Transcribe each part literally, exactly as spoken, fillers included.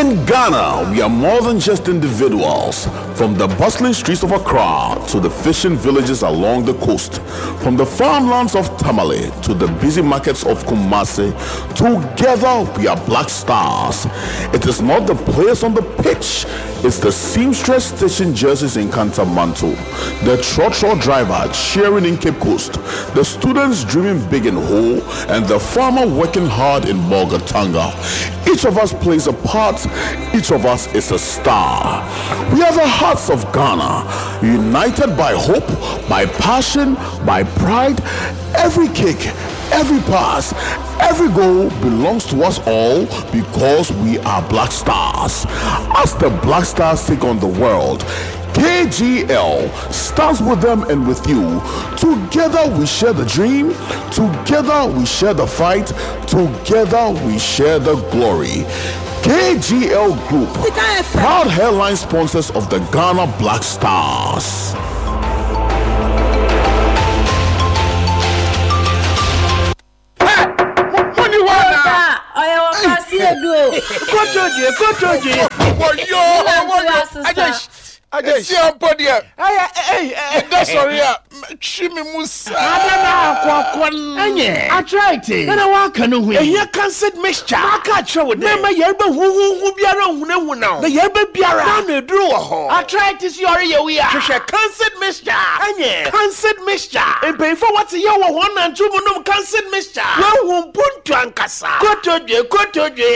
In Ghana, we are more than just individuals. From the bustling streets of Accra to the fishing villages along the coast, from the farmlands of Tamale to the busy markets of Kumasi, together we are Black Stars. It is not the players on the pitch, it's the seamstress stitching jerseys in Kantamanto, the trotro driver cheering in Cape Coast, the students dreaming big in Ho, and the farmer working hard in Bolgatanga. Each of us plays a part, each of us is a star. We are the hearts of Ghana, united by hope, by passion, by pride. Every kick, every pass, every goal belongs to us all because we are Black Stars. As the Black Stars take on the world, K G L stands with them and with you. Together we share the dream, together we share the fight, together we share the glory. K G L Group, proud headline sponsors of the Ghana Black Stars. Muni wana. Ɔyɛ wɔ kasi edu o. Kotodwe, kotodwe. Wɔyɔ, wɔyɔ. Ajay, Ajay. Esi ampo deɛ. Ɛyɛ, ɛyɛ, ɛda sɔre a, twi mi mu saa. Ada na akɔakɔ ɛnyɛ arthritis ɛna waka no ho yi ehia Cancid Mixture n'aka akyerɛ wo dɛ mɛma yɛreba huhuhu biara nhunahuna wo na yɛreba biara n'ano eduru wɔ hɔ. Arthritis yɔre yɛ wi a, hwehwɛ Cancid Mixture. Ɛnyɛ Cancid Mixture, mpanyinfoɔ wɔte yɛ wɔ wɔn nantu mu nom Cancid Mixture, wɔn mpuntu ankasa. Kotodwe, kotodwe.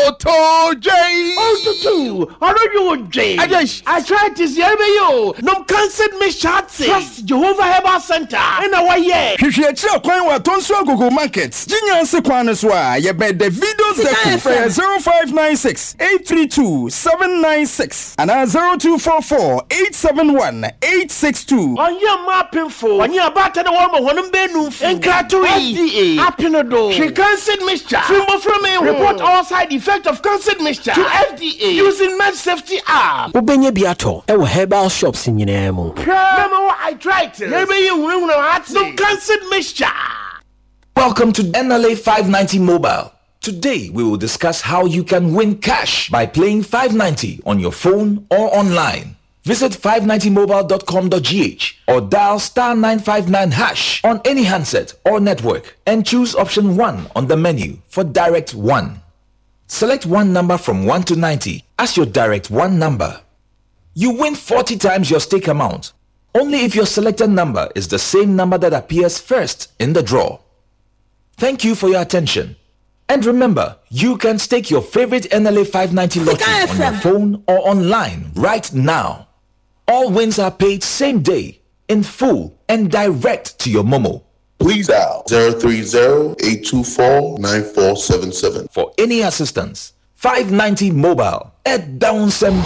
Kotodwe. Otutu ɔno wo dwe. Ajay. Arthritis yɛreba yi o, nom Cancid Mixture ate Trust Jehovah Herbal Center ɛna wɔyɛ. Hwehwɛ akyiri kwan wɔ Atonso Agogo Market, Gyinya kwan no so a yɛbɛn Davido Zeku. Frɛ zero five nine six eight three two seven nine six anaa zero two four four eight seven one eight six two. Ɔnyɛ mmaa apemfo, ɔnyɛ abaata na wɔrema wɔn mbɛnumfo nkratoe. F D A apene do. Hwɛ Cancid Mixture firi mmɔfra mi ho. Report all side effect of Cancid Mixture to F D A using Med Safety app. Wobɛnya bi atɔ ɛwɔ herbal shops nyinaa mu. Mɛma wɔ arthritis yɛbɛyi hunahuna ate, nom Cancid Mixture. Welcome to N L A five ninety Mobile. Today we will discuss how you can win cash by playing five ninety on your phone or online. Visit five ninety mobile dot com dot G H or dial star nine five nine hash on any handset or network and choose option one on the menu for Direct one. Select one number from one to ninety as your Direct one number. You win forty times your stake amount only if your selected number is the same number that appears first in the draw. Thank you for your attention. And remember, you can stake your favorite N L A five ninety lottery on your phone or online right now. All wins are paid same day, in full, and direct to your Momo. Please dial zero three zero, eight two four, nine four seven seven. For any assistance, five ninety Mobile at Downsem.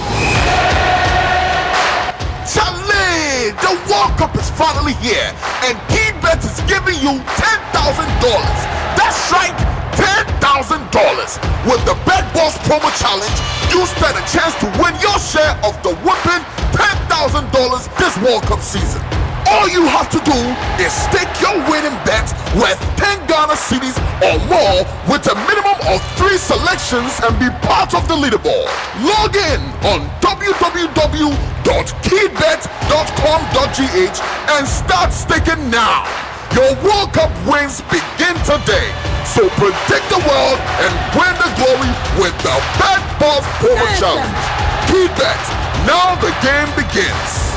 Charlie, the World Cup is finally here, and KeyBet is giving you ten thousand dollars. That's right, ten thousand dollars. With the Bet Boss Promo Challenge, you stand a chance to win your share of the whopping ten thousand dollars this World Cup season. All you have to do is stake your winning bet worth ten Ghana cedis or more with a minimum of three selections and be part of the leaderboard. Log in on w w w dot keybet dot com dot g h and start staking now. Your World Cup wins begin today. So predict the world and win the glory with the Bet Boss Promo Challenge. KeyBet. Now the game begins.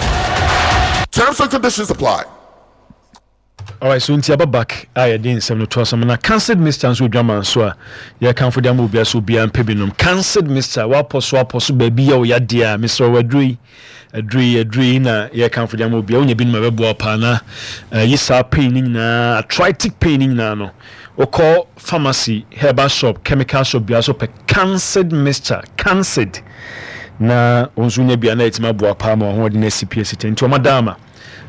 Terms and conditions apply. Alright, so nti aba back a yɛde nsɛm no to asɛm na Cancid Mixture nso odwama nso a yɛkamfo de ama obiara so obiara mpɛ binom Cancid Mixture. Wapɔ so apɔ so baabi yɛ wo yadeɛ a, mesrɛ wo, aduro yi, aduro yi, aduro yi na yɛkamfo de ama obiara. Wonya binom a ɛbɛboa paa na yi saa pain no nyinaa, arthritic pain no nyinaa no. Wokɔ pharmacy, herbal shop, chemical shop biara so, pɛ Cancid Mixture, Cancid, na wɔn nso nya bia na yɛtumi aboa paa ma wɔn ahoɔden asi pie si tɛ. Nti wɔn ada ama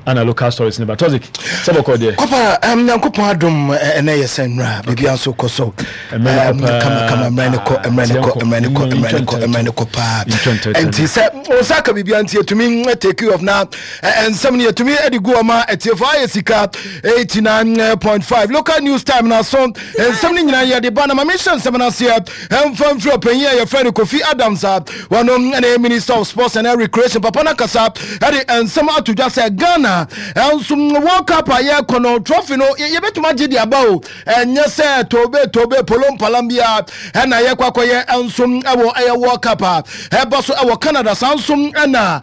Ana local stories ne ba Toxic sɛ bɔkɔ deɛ. Kɔpa um, Nyankopɔn adom, ɛnɛ yɛ sɛ nnora biribia nso kɔ so kama kama. Mmerɛ ne kɔ, mmerɛ ne kɔ, mmerɛ ne kɔ, mmerɛ ne kɔ, mmerɛ ne kɔ paa. Nti sɛ wo nsa ka biribia nti yɛtumi take off na nsɛm no yɛtumi de gu ɔma atiefo. Ayɛ Sika eighty-nine point five local news time na so nsɛm no nyinaa yɛde ba. Na ma mehyɛ nsɛm no aseɛ ɛmfa mfiri ɔpanyin a yɛfrɛ no Kofi Adams a wɔno ɛne Minister of Sports and Recreation. Papa no kasa ɛde nsɛm ato dwa sɛ Ghana ɛnso World Cup a yɛkɔ no, trophy no yɛbɛtumi agye de aba o. Ɛnyɛ sɛ tobe tobe polo mpalam biara ɛna yɛkɔ akɔyɛ nso ɛwɔ ɛyɛ World Cup a ɛba so ɛwɔ Canada, saa nso ɛna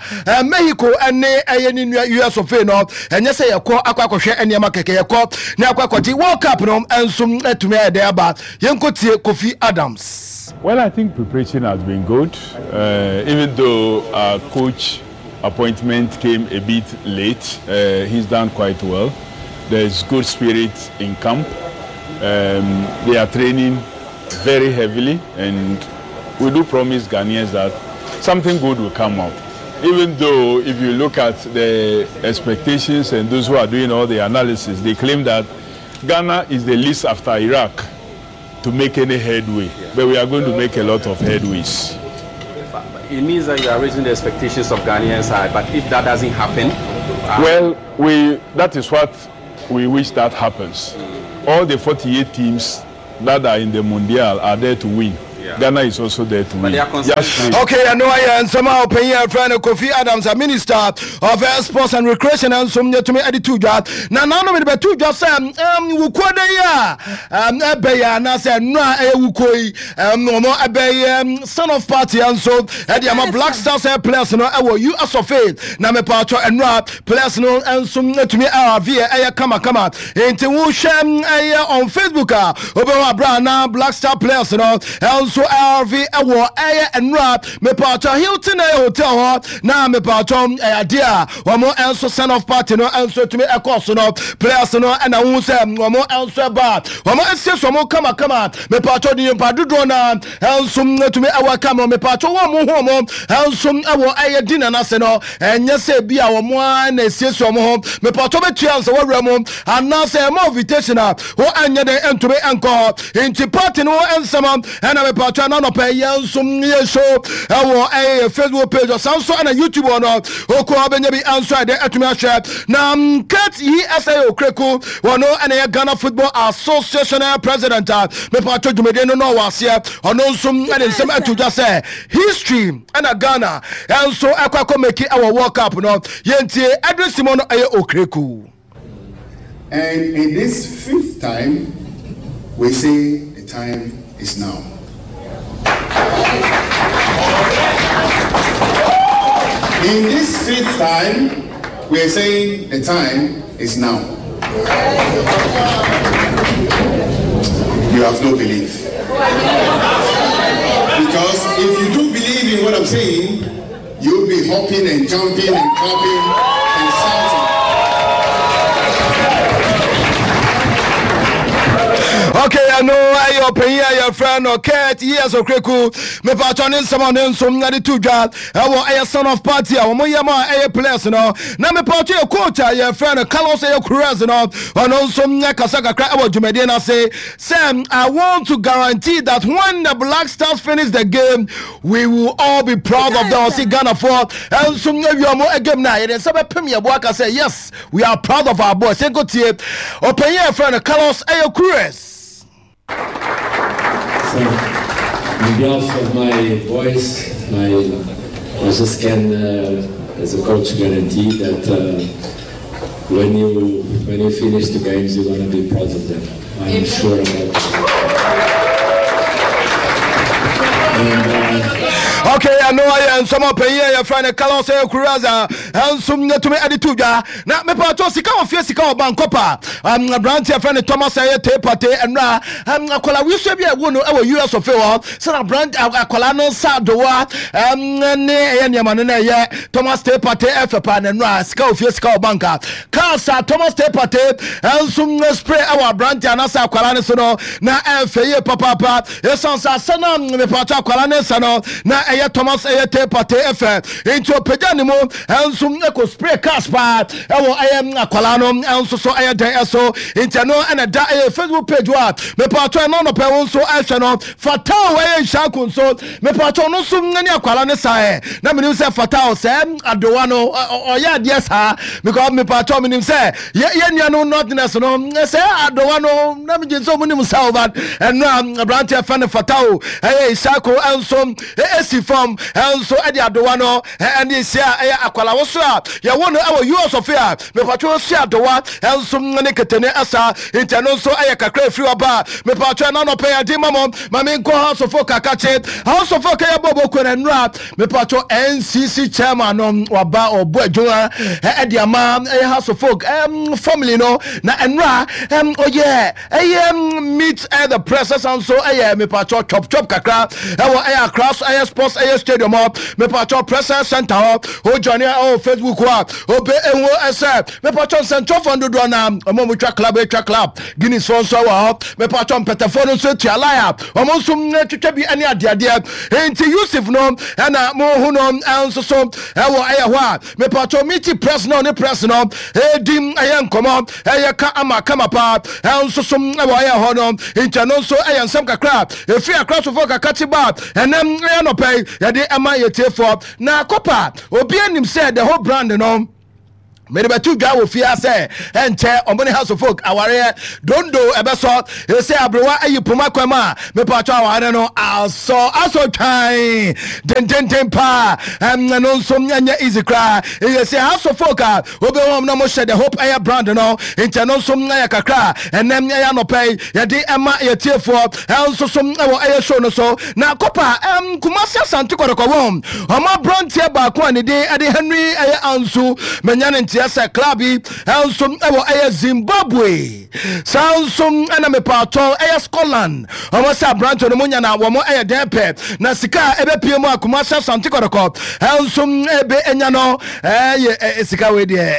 Mexico ɛne ɛyɛ ne nua U S of A no. Ɛnyɛ sɛ yɛkɔ akɔ akɔhwɛ nneɛma kɛkɛ, yɛkɔ ne akɔ akɔgye World Cup no nso ɛtumi ayɛ dɛ aba. Yɛnkɔ tie Kofi Adams. Well, I think preparation has been good, uh, even though our coach appointment came a bit late. Uh, he's done quite well. There's good spirit in camp. Um, they are training very heavily, and we do promise Ghanaians that something good will come out. Even though, if you look at the expectations and those who are doing all the analysis, they claim that Ghana is the least after Iraq to make any headway. Yeah. But we are going to make a lot of headways. It means that you are raising the expectations of Ghanaians high. But if that doesn't happen, uh, well, we that is what we wish that happens. Mm. All the forty-eight teams that are in the Mundial are there to win. Yeah. Ghana is also there to win. Yes, okay, I know I am somehow paying a friend Kofi Adams, a Minister of Sports and Recreation, and some to me added two job. Now, now, no, but two jobs, um, wukuo de yi a um, ɛbɛyɛ anaasɛ nnora ɛyɛ wukuo yi um, ɔmo ɛbɛyɛ send off party nso ɛde ama Black Stars players no ɛwɔ U S of A. Na mepatɔ nnora players no nso atumi ɛrave ɛyɛ kamakama. Nti wohwɛ ɛyɛ on Facebook a, wobɛhu abira na Black Star players no ɛnso ɛrave ɛwɔ ɛyɛ nnora mepatɔ Hilton ɛyɛ hotel hɔ. Na mepatɔ ɛyɛ adeɛ a wɔn nso send off party no nso atumi ɛkɔɔ so no, players no ɛna wohu sɛ wɔn nso ɛba, wɔn asiesie wɔn kamakama. Mepatɔ de nyimpa dodoɔ na nso atumi ɛwɔ kama. Mepatɔ wɔn mo ho wɔn nso ɛwɔ ɛyɛ dinner n'ase no, ɛnyɛ sɛ bi a wɔn a na esiesie wɔn ho. Mepatɔ bɛtua nsa wɔwura mu anaasɛ ɛma invitation a wɔn anyɛ dɛ ntumi nkɔ hɔ. Nti party no nsɛm ɛna mepatɔ ɛna nɔpɛ yɛn nso yɛ show ɛwɔ ɛyɛ Facebook page, ɔsan nso ɛna YouTube hɔ no okɔ ɔbɛnya bi nso ɛdɛ ɛtumi ahwɛ. Na Kurt yi ɛsɛ Okraku, wɔno ɛna yɛ Ghana Football Association president a mepatɔ dwumadie no na ɔwɔ aseɛ. Ɔno nso ɛde nsɛm ato dwa sɛ history ɛna Ghana ɛnso ɛkɔ akɔ make ɛwɔ World Cup no. Yɛntie Edwin Simon no ɛyɛ Okraku. And in this fifth time, we say the time is now. In this fifth time, we are saying the time is now. You have no belief. Because if you do believe in what I'm saying, you'll be hopping and jumping and clapping and shouting. Okay, ɛno ɛyɛ ɔpanyin a yɛfrɛ no Kurt E S Okraku. Mepatɔ ne nsɛm a ne nso de to dwa ɛwɔ ɛyɛ send off party a wɔn yɛ ma ɛyɛ players no. Na mepatɔ yɛ coach a yɛfrɛ no Carlos ɛyɛ Queiroz no, ɔno nso nyɛ kasa kakra ɛwɔ dwumadie no ase sɛ, "I want to guarantee that when the Black Stars finish the game, we will all be proud of them." Ɔsi Ghana foɔ ɛnso awie ɔmo game na yɛde nsa bɛpem yɛ bo aka sɛ, "Yes, we are proud of our boys." Yɛnkɔ tie ɔpanyin a yɛfrɛ no Carlos ɛyɛ Queiroz. So, on behalf of my boys, my, I just can, uh, as a coach, guarantee that uh, when you when you finish the games, you're gonna be proud of them. I'm sure about that. And, uh, Okay, ɛno ayɛ nsɛm ɔpanyin a yɛfrɛ no Carlos ɛyɛ Queiroz a ɛnso nyɛtumi ɛde to dwa. Na mepatɔ sika wɔ fie, sika wɔ bankɔpa aberante yɛfrɛ no Thomas ɛyɛ Teye Partey. Ɛnora akwala wisua bi a ɛwo no ɛwɔ U S of A hɔ sɛna aberante akwala no nsa adowa ne ɛyɛ nneɛma no na ɛyɛ Thomas Teye Partey ɛfɛ paa. Na ɛnora sika wɔ fie, sika wɔ banka cars a Thomas Teye Partey ɛnso spray ɛwɔ aberante anaasɛ akwala no so no na ɛfɛ yie papaapa. Ɛsiane sɛ asɛ no mepatɔ akwala no nsa no na Ɛyɛ Thomas ɛyɛ Teye Partey ɛfɛ, nti ɔpagya ne mu ɛnso ɛkɔ spray cars paa ɛwɔ ɛyɛ akwalaa no ɛnso so ɛyɛ dɛn ɛso. Nti ɛno ɛna da ɛyɛ Facebook page hɔ a mepatɔ ɛno nɔpɛ wo nso ɛhwɛ no. Fatao ɛyɛ Nhyako nso, mepatɔ no nso ne akwalaa no saa ɛ na menim sɛ Fatao sɛ adowa no ɔyɛ adeɛ saa, because mepatɔ menim sɛ yɛ yɛ nua no northerners no sɛ adowa no na megye sɛ ɔmo nim sa o, but ɛno a aberanteɛ fɛ no Fatao ɛyɛ Nhyako ɛnso ɛsi fam ɛnso ɛde adowa no ɛne esi a ɛyɛ akwalaa wɔ so a yɛwɔ no ɛwɔ U S ɔfe a mepatɔ si adowa ɛnso ne ketene ɛsa. Nti ɛno nso ɛyɛ kakra efiri ɔba mepatɔ ɛna nɔpɛ yɛde ma mo. Maame nkɔ Hearts of Oak akakye. Hearts of Oak ɛyɛ bɔɔbɔ kɔ na nnura mepatɔ N C C chairman no waba ɔbɔ adwuma ɛde ama ɛyɛ Hearts of Oak ɛm family no. Na nnura ɛm ɔyɛ ɛyɛ meet ɛyɛ the press, ɛsan nso ɛyɛ mepatɔ chop chop kakra ɛwɔ ɛyɛ Accra ɛyɛ sports ɛyɛ stadium hɔ, mepatɔ press center hɔ. O join ɛwɔ Facebook hɔ a obe ehu ɛsɛ mepatɔ nsɛntɔfoɔ dodoɔ na ɔmo a mo twa club atwa club Guinness foɔ nso wɔ hɔ. Mepatɔ mpɛtɛfoɔ no nso atua line a ɔmo nso twitwa bi ɛne adeadeɛ. Nti Yusuf no ɛna mo hu no ɛnso so ɛwɔ ɛyɛ hɔ a mepatɔ meet press no ne press no ɛdi ɛyɛ nkɔmɔ ɛyɛ ka ama kama paa ɛnso so ɛwɔ ɛyɛ hɔ no. Nti ɛno nso ɛyɛ nsɛm kakra efi akrasofo kakakye ba ɛnɛm ɛyɛ nɔpɛ yi yɛde ɛma yɛtiefoɔ. Na kɔpa obi anim sɛ the whole brand no mede bɛto dwa wɔ fie sɛ ɛnkyɛ ɔmo ne Hearts of Oak awareɛ dondo ɛbɛsɔ ɛsɛ aberewa ayi poma kwan mu a mepatɔ awareɛ no asɔ asɔ twan dendenden paa. Ɛno nso ɛnyɛ easy koraa. Ɛyɛ sɛ Hearts of Oak a wobɛhu na mohyɛ the hope ɛyɛ brand no. Nti ɛno nso ɛyɛ kakra ɛnɛm ɛyɛ anɔpɛ yi yɛde ɛma yɛtiefoɔ ɛnso so ɛwɔ ɛyɛ show no so. Na kɔpa ɛm Kumasi Asante Kɔtɔkɔ wɔn ɔmo aberanteɛ baako a ne din ɛde Henry ɛyɛ Anso manya ne nteɛ sɛ club yi ɛnso ɛwɔ ɛyɛ Zimbabwe, saa nso ɛna mepatɔ ɛyɛ Scotland. Ɔmo sɛ aberanteɛ no mo nya na wɔn ɛyɛ dɛn pɛ na sika a ɛbɛpie mu a Kumasi Asante Kɔtɔkɔ ɛnso ɛbɛ ɛnya no ɛyɛ ɛ sika wei deɛ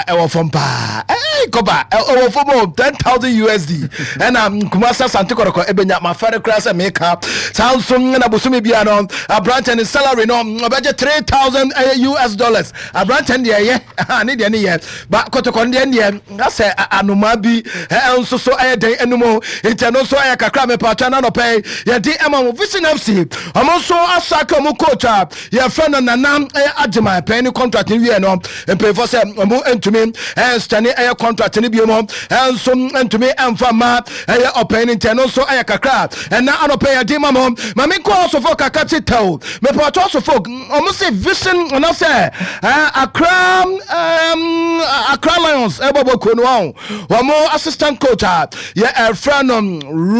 ɛwɔ fam paa. Ɛɛ kɔba ɛwɔ fam o, ten thousand U S D ɛna Kumasi Asante Kɔtɔkɔ ɛbɛnya. Ma fɛre koraa sɛ meka saa nso. Ɛna bosome bia no aberanteɛ ne salary no ɔbɛgye three thousand ɛyɛ U S dollars. Aberanteɛ no deɛ ɛyɛ ne deɛ ne yɛ ba Kɔtɔkɔ no deɛ deɛ asɛ anomaa bi ɛnso so ɛyɛ dɛn anim. Nti ɛno nso ɛyɛ kakra mepatwa na nɔpɛ yɛde ɛma mo. Vision F C ɔmo nso asaka ɔmo coach a yɛfrɛ no Nana ɛyɛ Agyema pɛn ne contract no wie no, mpanyinfoɔ sɛ ɔmo ntumi ɛnstɛne ɛyɛ contract no bio mu ɛnso ntumi ɛnfa ma ɛyɛ ɔpɛn no. Nti ɛno nso ɛyɛ kakra ɛna anɔpɛ yɛde ma mo. Maame nkɔ ɔsofo kaka kye tɛw mepatwa ɔsofo ɔmo se Vision anaasɛ ɛɛ Accra ɛɛm Accra Lions ɛbɔ bɔ kuo no wɔn wɔn assistant coach a yɛ ɛfrɛ no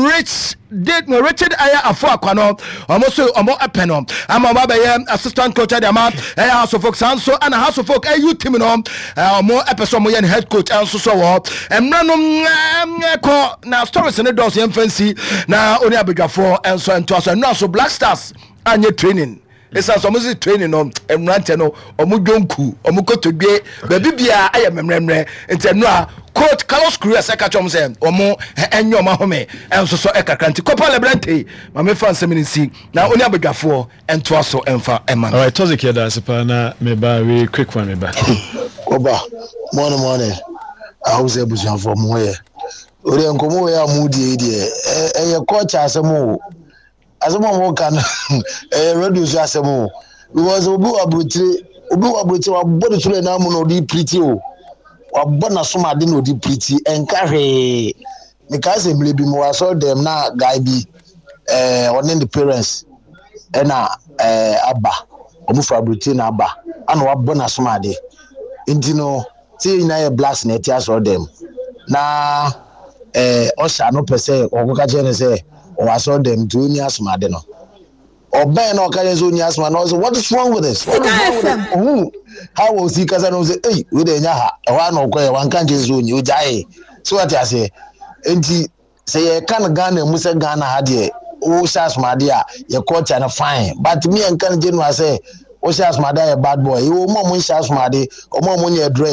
Rich date no Richard ɛyɛ afo akwa no, ɔmo so ɔmo ɛpɛ no ama ɔmo abɛyɛ assistant coach ɛde ama ɛyɛ Hearts of Oak. Saa nso ɛna Hearts of Oak ɛyu team no ɔmo ɛpɛ sɛ ɔmo yɛ ne head coach ɛnso so wɔ mmerɛ no ɛkɔ na stories ne dɔɔso. Yɛn fɛn si na oni abadwafoɔ ɛnso ɛntoa so. Ɛnura so Black Stars anyɛ training esan sɛ ɔmo si training no mmeranteɛ no ɔmo dwonku ɔmo kotodwe baabi biara ayɛ mmerɛmmerɛ. Nti ɛnura coach Carlos Queiroz ɛka kyerɛ ɔmo sɛ ɔmo ɛnyɛ ɔmo ahome ɛnso so ɛkakra. Nti Copa Lebrante maame fa nsɛm no nsi na oni abadwafoɔ ɛntoa so ɛnfa ɛma no. Alright, Tozik, yɛda ase paa na meba wei quick one meba. Kɔba, morning morning. I hope sɛ abusuafoɔ mo ho yɛ. O deɛ, nkɔmmɔ wei a mo die yi deɛ, ɛyɛ culture asɛm o. Asɛm a mo ka no ɛyɛ radio so asɛm o. Because obi wɔ aburokyire, obi wɔ aburokyire wabɔ ne soro ɛnan mu na ɔde piriti o. Wabɔ n'asom ade na ɔde piriti, ɛnka hwee. Mekaa sɛ mmerɛ bi mo wɔ asɔre dɛm na guy bi ɛɛ ɔne ne parents ɛna ɛɛ aba, ɔmo fura aburokyire na aba ana wabɔ n'asom ade. Nti no sɛ yɛn nyinaa yɛ blacks na ɛte asɔre dɛm na ɛɛ ɔhyɛ ano pɛ sɛ ɔkɔka kyerɛ no sɛ ɔwɔ asɔre dɛm nti ɔnni asomade no, ɔbɛn na ɔka kyerɛ sɛ ɔnni asomade no, ɔsɛ, "What is wrong with this? What is wrong with this?" Ohun how osi kasa no sɛ ɛyi wei de ɛnya ha ɛhɔ ano ɔkɔ yɛ wanka nkyɛn sɛ ɔnyi ɔgyae so wate aseɛ. Nti sɛ yɛka no Ghana mu sɛ Ghana ha deɛ wohyɛ asomade a yɛ culture no fine, but me yɛnka no general sɛ wohyɛ asomade a yɛ bad boy. Yɛwɔ mu a ɔmo nhyɛ asomade, ɔmo a ɔmo nyɛ dread.